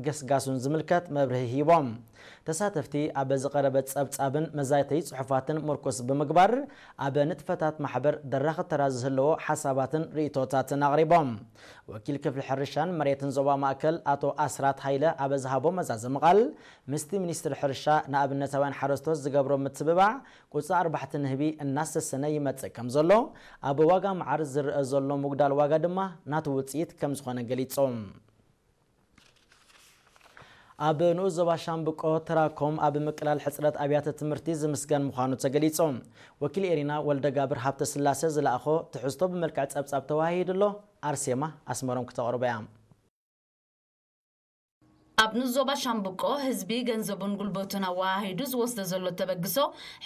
ገስጋሱን ዝምልከት መብርሂ ሂቦም። ተሳተፍቲ ኣብ ዝቐረበ ጸብጻብን መዛተዪ ጽሑፋትን ምርኩስ ብምግባር፣ ኣብ ንጥፈታት ማሕበር ደራኺ ተራ ዝህለዎ ሓሳባትን ርእይቶታትን ኣቕሪቦም። ወኪል ክፍሊ ሕርሻን መሬትን ዞባ ማእከል ኣቶ ኣስራት ሃይለ ኣብ ዝሃቦ መዛዘሚ ቃል፣ ምስቲ ሚኒስትሪ ሕርሻ ንኣብነታውያን ሓረስቶት ዝገብሮ ምትብባዕ ቁጽሪ ኣርባሕቲ ንህቢ እናሰሰነ ይመጽእ ከም ዘሎ፣ ኣብ ዋጋ መዓር ዝረአ ዘሎ ምጉዳል ዋጋ ድማ ናቱ ውጽኢት ከም ዝኾነ ገሊጾም። ኣብ ንኡስ ዞባ ሻምብቆ ተራኮም ኣብ ምቅላል ሕጽረት ኣብያተ ትምህርቲ ዝምስገን ምዃኑ ተገሊጹ። ወኪል ኤሪና ወልደጋብር ሃብተ ስላሴ ዝለኣኾ ትሕዝቶ ብመልክዕ ጸብጻብ ተዋሂዱ ኣሎ። ኣርሴማ ኣስመሮም ክተቕርቦ እያ። ኣብ ንኡስ ዞባ ሻምብቆ ህዝቢ ገንዘቡን ጉልበቱን ኣወሃሂዱ ዝወስዶ ዘሎ ተበግሶ፣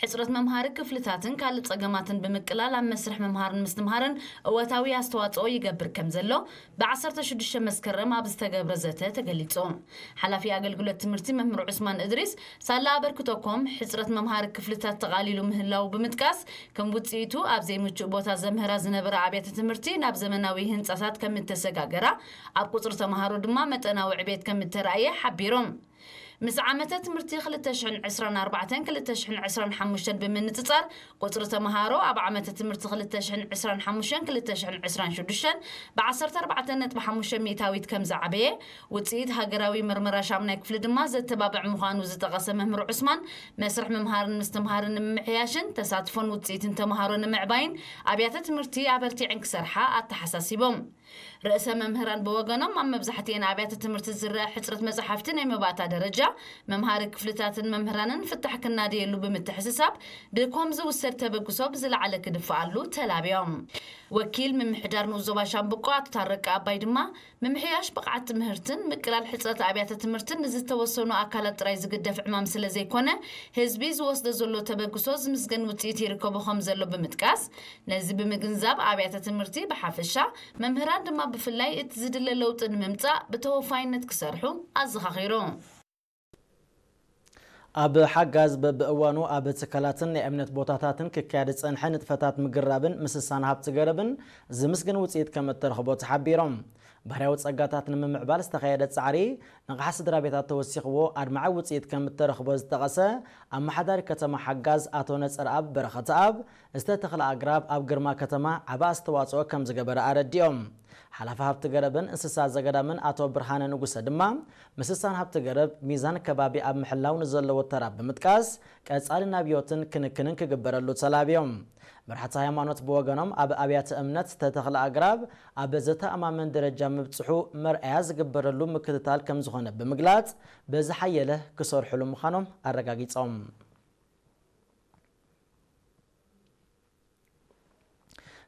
ሕጽረት መምሃሪ ክፍልታትን ካልእ ጸገማትን ብምቅላል ኣብ መስርሕ ምምሃርን ምስትምሃርን እወታዊ ኣስተዋጽኦ ይገብር ከም ዘሎ ብ ዓሰርተ ሽዱሽተ መስከረም ኣብ ዝተገብረ ዘተ ተገሊጹ። ሓላፊ ኣገልግሎት ትምህርቲ መምህር ዑስማን እድሪስ፣ ሳላ ኣበርክቶኮም ሕጽረት መምሃሪ ክፍልታት ተቓሊሉ ምህላው ብምጥቃስ፣ ከም ውጽኢቱ ኣብ ዘይምቹእ ቦታ ዘምህራ ዝነበራ ኣብያተ ትምህርቲ ናብ ዘመናዊ ህንጻታት ከም እተሰጋገራ፣ ኣብ ቁጽሪ ተምሃሮ ድማ መጠናዊ ዕቤት ከም እተራእየ ሓቢሮም። ምስ ዓመተ ትምህርቲ ክልተ ሽሕን ዕስራን ኣርባዕተን ክልተ ሽሕን ዕስራን ሓሙሽተን ብምንጽጻር፣ ቁጽሪ ተምሃሮ ኣብ ዓመተ ትምህርቲ ክልተ ሽሕን ዕስራን ሓሙሽተን ክልተ ሽሕን ዕስራን ሽዱሽተን ብ ዓሰርተ ኣርባዕተ ነጥቢ ሓሙሽተ ሚእታዊት ከም ዝዓበየ፣ ውጽኢት ሃገራዊ መርመራ ሻምናይ ክፍሊ ድማ ዘተባብዕ ምዃኑ ዝጠቐሰ መምህር ዑስማን፣ መስርሕ ምምሃርን ምስትምሃርን ንምምሕያሽን ተሳትፎን ውጽኢትን ተምሃሮ ንምዕባይን ኣብያተ ትምህርቲ ኣበርቲዐን ክሰርሓ ኣተሓሳሲቦም። ርእሰ መምህራን ብወገኖም፣ ኣብ መብዛሕትኤን ኣብያተ ትምህርቲ ዝረአ ሕጽረት መጻሕፍቲ ናይ መባእታ ደረጃ፣ መምሃሪ ክፍልታትን መምህራንን ፍታሕ ክናደየሉ ብምትሕስሳብ፣ ድኮም ዝውሰድ ተበግሶ ብዝለዓለ ክድፍኣሉ ተላብዮም። ወኪል ምምሕዳር ንኡስ ዞባ ሻምብቆ ኣቶ ታረቀ ኣባይ ድማ፣ ምምሕያሽ ብቕዓት ትምህርትን ምቅላል ሕጽረት ኣብያተ ትምህርትን ንዝተወሰኑ ኣካላት ጥራይ ዝግደፍ ዕማም ስለ ዘይኮነ፣ ህዝቢ ዝወስዶ ዘሎ ተበግሶ ዝምስገን ውጽኢት ይርከቦ ከም ዘሎ ብምጥቃስ፣ ነዚ ብምግንዛብ ኣብያተ ትምህርቲ ብሓፈሻ፣ መምህራን ድማ ብፍላይ እቲ ዝድለ ለውጢ ንምምጻእ ብተወፋይነት ክሰርሑ ኣዘኻኺሩ። ኣብ ሓጋዝ በብእዋኑ ኣብ ትካላትን ናይ እምነት ቦታታትን ክካየድ ዝጸንሐ ንጥፈታት ምግንዛብን ምስሳን ሃብቲ ገረብን ዝምስገን ውጽኢት ከም እተረኽቦ ተሓቢሮም። ባህርያዊ ጸጋታት ንምምዕባል ዝተኻየደ ጻዕሪ ንቕሓት ስድራ ቤታት ተወሲኽዎ ኣድማዒ ውጽኢት ከም እተረኽቦ ዝጠቐሰ ኣመሓዳሪ ከተማ ሓጋዝ ኣቶ ነጸርኣብ በረኸተኣብ፣ ዝተተኽለ ኣግራብ ኣብ ግርማ ከተማ ዓቢ ኣስተዋጽኦ ከም ዝገበረ ኣረዲኦም። ሓላፊ ሃብቲ ገረብን እንስሳ ዘገዳምን ኣቶ ብርሃነ ንጉሰ ድማ፣ ምስሳን ሃብቲ ገረብ ሚዛን ከባቢ ኣብ ምሕላው ንዘለዎ ተራ ብምጥቃስ፣ ቀጻሊ ናብዮትን ክንክንን ክግበረሉ ተላብዮም። መራሕቲ ሃይማኖት ብወገኖም፣ ኣብ ኣብያተ እምነት ዝተተኽለ ኣግራብ ኣብ ዘተኣማምን ደረጃ ምብጽሑ መርኣያ ዝግበረሉ ምክትታል ከም ዝኾነ ብምግላጽ፣ ብዝሓየለ ክሰርሕሉ ምዃኖም ኣረጋጊጾም።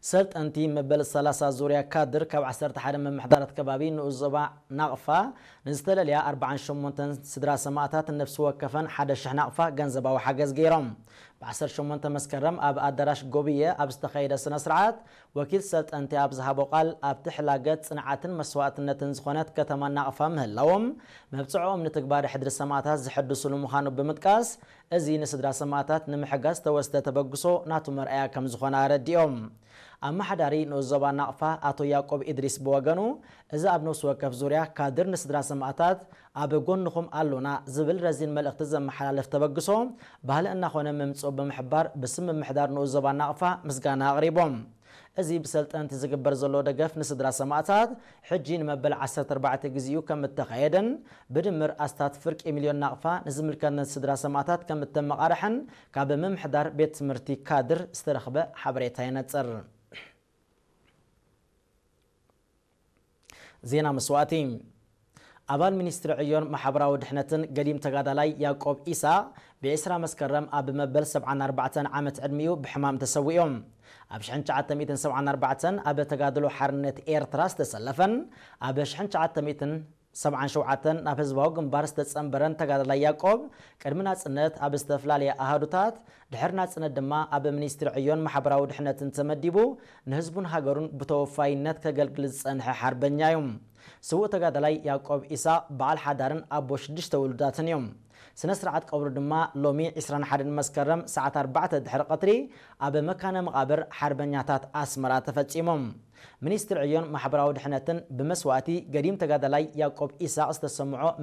ሰልጠንቲ መበል ሰላሳ ዙርያ ካድር ካብ ዓሰርተ ሓደ ምምሕዳራት ከባቢ ንኡስ ዞባ ናቕፋ ንዝተለልያ ኣርባዓን ሸሞንተን ስድራ ሰማእታት ነፍሲ ወከፈን ሓደ ሽሕ ናቕፋ ገንዘባዊ ሓገዝ ገይሮም። ብ ዓሰርተ ሸሞንተ መስከረም ኣብ ኣዳራሽ ጎብየ ኣብ ዝተኻየደ ስነ ስርዓት፣ ወኪል ሰልጠንቲ ኣብ ዝሃቦ ቃል፣ ኣብቲ ሕላገት ጽንዓትን መስዋእትነትን ዝኾነት ከተማ ናቕፋ ምህላዎም፣ መብጽዕኦም ንትግባረ ሕድሪ ሰማእታት ዝሕድስሉ ምዃኑ ብምጥቃስ፣ እዚ ንስድራ ሰማእታት ንምሕጋዝ ዝተወስደ ተበግሶ ናቱ መርኣያ ከም ዝኾነ ኣረዲኦም። ኣመሓዳሪ ንኡስ ዞባ ናቕፋ ኣቶ ያዕቆብ ኢድሪስ ብወገኑ፣ እዚ ኣብ ነፍሲ ወከፍ ዙርያ ካድር ንስድራ ሰማእታት ኣብ ጎንኹም ኣሎና ዝብል ረዚን መልእኽቲ ዘመሓላልፍ ተበግሶ፣ ባህሊ እናኾነ ምምጽኡ ብምሕባር፣ ብስም ምምሕዳር ንኡስ ዞባ ናቕፋ ምስጋና ኣቕሪቦም። እዚ ብሰልጠንቲ ዝግበር ዘሎ ደገፍ ንስድራ ሰማእታት፣ ሕጂ ንመበል ዓሰርተ ኣርባዕተ ግዜኡ ከም እተኻየደን፣ ብድምር ኣስታት ፍርቂ ሚልዮን ናቕፋ ንዝምልከተን ስድራ ሰማእታት ከም እተመቓርሐን ካብ ምምሕዳር ቤት ትምህርቲ ካድር ዝተረኽበ ሓበሬታ የነጽር። ዜና መስዋእቲ። ኣባል ሚኒስትሪ ዕዮን ማሕበራዊ ድሕነትን ገዲም ተጋዳላይ ያዕቆብ ኢሳቕ፣ ብ ዕስራ መስከረም ኣብ መበል ሰብዓን ኣርባዕተን ዓመት ዕድሚኡ ብሕማም ተሰዊኡ። ኣብ ሽሕን ትሽዓተ ሚእትን ሰብዓን ኣርባዕተን ኣብ ተጋድሎ ሓርነት ኤርትራ ዝተሰለፈን፣ ኣብ ሽሕን ትሽዓተ ሚእትን ሰብዓን ሸውዓተን ናብ ህዝባዊ ግንባር ዝተጸንበረን ተጋዳላይ ያዕቆብ፣ ቅድሚ ናጽነት ኣብ ዝተፈላለየ ኣሃዱታት፣ ድሕሪ ናጽነት ድማ ኣብ ሚኒስትሪ ዕዮን ማሕበራዊ ድሕነትን ተመዲቡ፣ ንህዝቡን ሃገሩን ብተወፋይነት ከገልግል ዝጸንሐ ሓርበኛ እዩ። ስዉእ ተጋዳላይ ያዕቆብ ኢሳቕ በዓል ሓዳርን ኣቦ ሽዱሽተ ውሉዳትን እዩ። ስነ ስርዓት ቀብሩ ድማ ሎሚ ዕስራን ሓደን መስከረም ሰዓት ኣርባዕተ ድሕሪ ቀትሪ ኣብ መካነ መቓብር ሓርበኛታት ኣስመራ ተፈጺሙ። ሚኒስትሪ ዕዮን ማሕበራዊ ድሕነትን ብመስዋእቲ ገዲም ተጋዳላይ ያዕቆብ ኢሳቕ ዝተሰምዖ